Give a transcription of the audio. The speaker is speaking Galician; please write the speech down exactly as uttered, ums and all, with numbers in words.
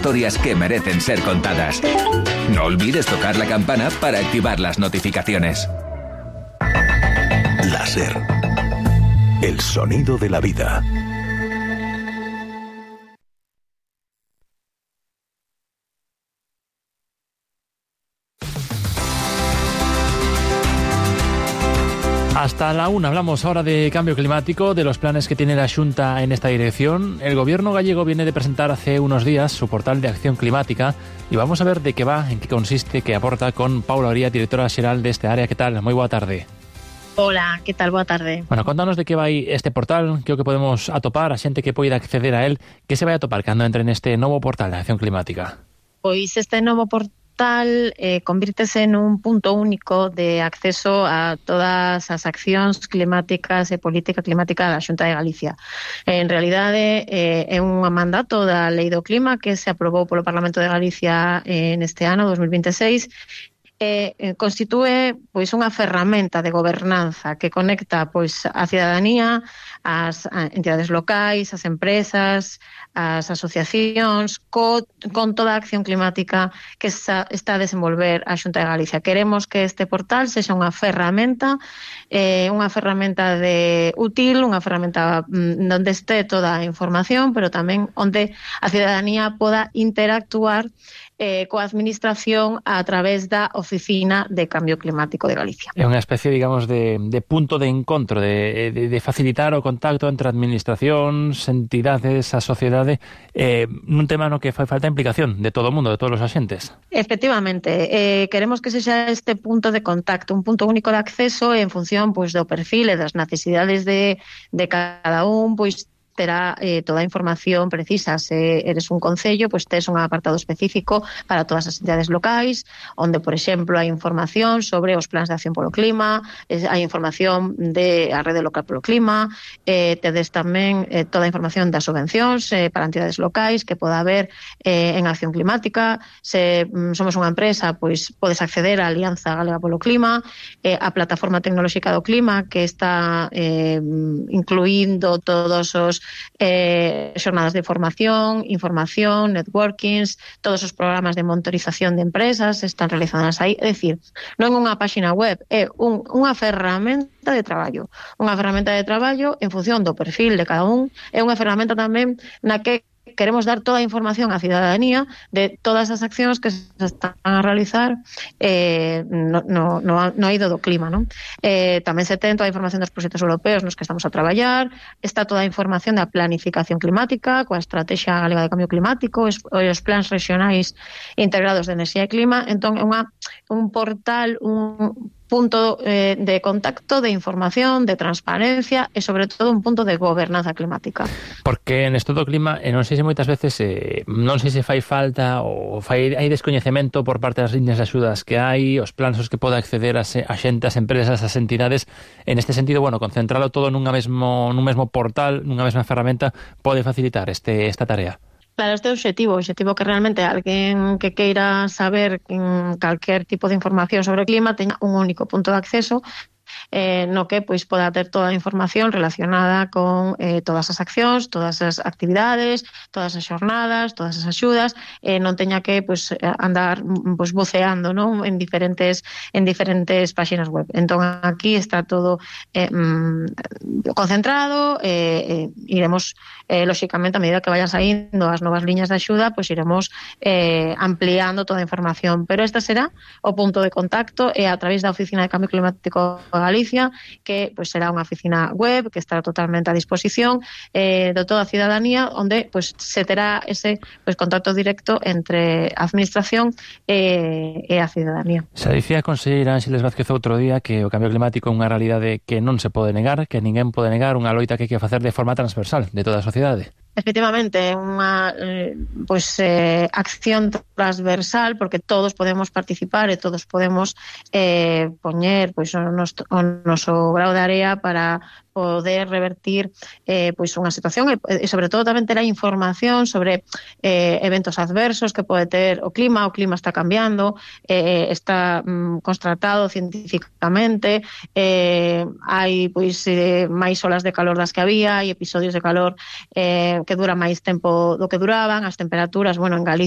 historias que merecen ser contadas. No olvides tocar la campana para activar las notificaciones. Láser. El sonido de la vida. Hasta la una hablamos ahora de cambio climático, de los planes que tiene la Xunta en esta dirección. El gobierno gallego viene de presentar hace unos días su portal de acción climática y vamos a ver de qué va, en qué consiste, qué aporta con Paula Oría, directora xeral deste área. Que tal? Moi boa tarde. Hola, que tal? Boa tarde. Bueno, contanos de que vai este portal, que o que podemos atopar, a xente que poida acceder a él, que se vai atopar cando entre neste novo portal de acción climática. Pois este novo portal eh, convírtese nun punto único de acceso a todas as accións climáticas e política climática da Xunta de Galicia. En realidade eh, é un mandato da Lei do Clima que se aprobou polo Parlamento de Galicia eh, neste ano dos mil vinte e seis. Eh, constitúe pois unha ferramenta de gobernanza que conecta pois a cidadanía, as entidades locais, as empresas, as asociacións co, con toda a acción climática que sa, está a desenvolver a Xunta de Galicia. Queremos que este portal sexa unha ferramenta eh, unha ferramenta de útil, unha ferramenta mm, onde este toda a información, pero tamén onde a cidadanía poda interactuar Eh, coa administración a través da Oficina de Cambio Climático de Galicia. É unha especie, digamos, de, de punto de encontro, de, de, de facilitar o contacto entre administracións, entidades, a sociedade, eh, nun tema no que fai falta implicación de todo o mundo, de todos os axentes. Efectivamente, eh, queremos que sexa este punto de contacto, un punto único de acceso en función pois, do perfil e das necesidades de, de cada un, pois terá eh, toda a información precisa. Se eres un concello, pois tes un apartado específico para todas as entidades locais, onde, por exemplo, hai información sobre os plans de acción polo clima, eh, hai información de a rede local polo clima, eh, tedes tamén eh, toda a información das subvencións eh, para entidades locais que poda haber eh, en acción climática. Se mm, somos unha empresa, pois podes acceder á Alianza Galega polo Clima, eh, a plataforma tecnolóxica do clima que está eh, incluindo todos os Eh, xornadas de formación, información, networkings, todos os programas de monitorización de empresas están realizadas aí. É dicir, non é unha páxina web, é un, unha ferramenta de traballo. Unha ferramenta de traballo en función do perfil de cada un. É unha ferramenta tamén na que queremos dar toda a información á cidadanía de todas as accións que se están a realizar eh, no, no, no, no eido do clima, non? Eh, tamén se ten toda a información dos proxectos europeos nos que estamos a traballar, está toda a información da planificación climática, coa Estrategia Galega de Cambio Climático, os, os plans regionais integrados de enerxía e clima. Entón, é unha, un portal, un punto eh, de contacto, de información, de transparencia e, sobre todo, un punto de gobernanza climática. Porque en esto do clima, eh, non sei se moitas veces, eh, non sei se fai falta ou fai, hai descoñecemento por parte das líneas de axudas que hai, os plans os que poda acceder a, a xente, as empresas, as entidades. En este sentido, bueno, concentralo todo nunha mesmo, nun mesmo portal, nunha mesma ferramenta, pode facilitar este, esta tarea. Claro, este objetivo, objetivo que realmente alguén que queira saber calquer tipo de información sobre o clima teña un único punto de acceso eh, no que pois poda ter toda a información relacionada con eh, todas as accións, todas as actividades, todas as xornadas, todas as axudas, eh, non teña que pois andar pois voceando, non, en diferentes en diferentes páxinas web. Entón aquí está todo eh, concentrado, eh, eh, iremos eh, lóxicamente a medida que vayan saindo as novas liñas de axuda, pois iremos eh, ampliando toda a información, pero esta será o punto de contacto e a través da Oficina de Cambio Climático Galicia, que pues, será unha oficina web que estará totalmente a disposición eh, de toda a cidadanía, onde pues, se terá ese pues, contacto directo entre a administración e, e a cidadanía. Se dicía a conselleira Ángeles Vázquez outro día que o cambio climático é unha realidade que non se pode negar, que ninguén pode negar, unha loita que hai que facer de forma transversal de toda a sociedade. Efectivamente, unha eh, pues, eh, acción transversal, porque todos podemos participar e todos podemos eh, poñer pues, o, noso, o noso grao de area para poder revertir eh, pois unha situación e, e sobre todo tamén ter a información sobre eh, eventos adversos que pode ter o clima. O clima está cambiando, eh, está mm, constatado científicamente, eh, hai pois eh, máis olas de calor das que había, hai episodios de calor eh, que dura máis tempo do que duraban, as temperaturas, bueno, en Galicia